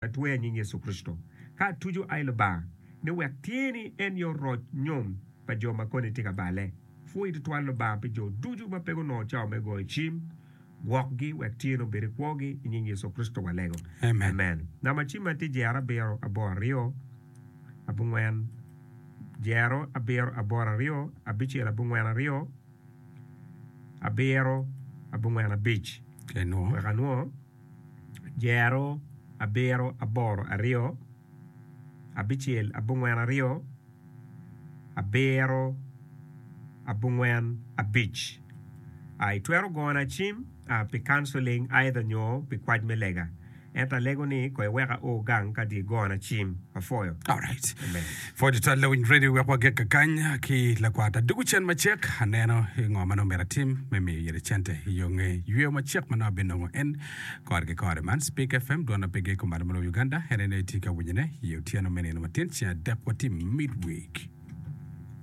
Atweya nying Yecu Kricito, ka atuco ai Lubanga, ni wek tyeni en yo roc nyom pa jo ma koni tye ka balle. Pwoyi tutwal Lubanga pi jo ducu ma pe gunongo cawa me goyo cim. Gwokgi wek tyeni obed i kwogi, i nying Yecu Kricito walego. Amen. Namba cimma tye jero abiro aboro aryo abongwen jero abiro aboro aryo abicel abongwen aryo abiro abongwen abic. Wek anwo. jero abiro aboro aryo, abicel abongwen aryo, abiro abongwen abic. Itwero gona cim pi counseling either nyo pi kwac me lega. Ento alego ni ko iwek ao gang ka dong igona cim. Apwoyo. Alright. Amen. Pwod tutwal lawiny radio wek wagik kakany ki lakwat adugu cen macek aneno ngo ma nongo myero atim me miyo ire cente i yo nge yweyo macek ma nongo abinongo en kore ki kore man Speak FM dwon ma pe giko malo ma lobo Uganda en aye nongo itye ka winyone i otyeno me nino matin ceng adek watye midweek.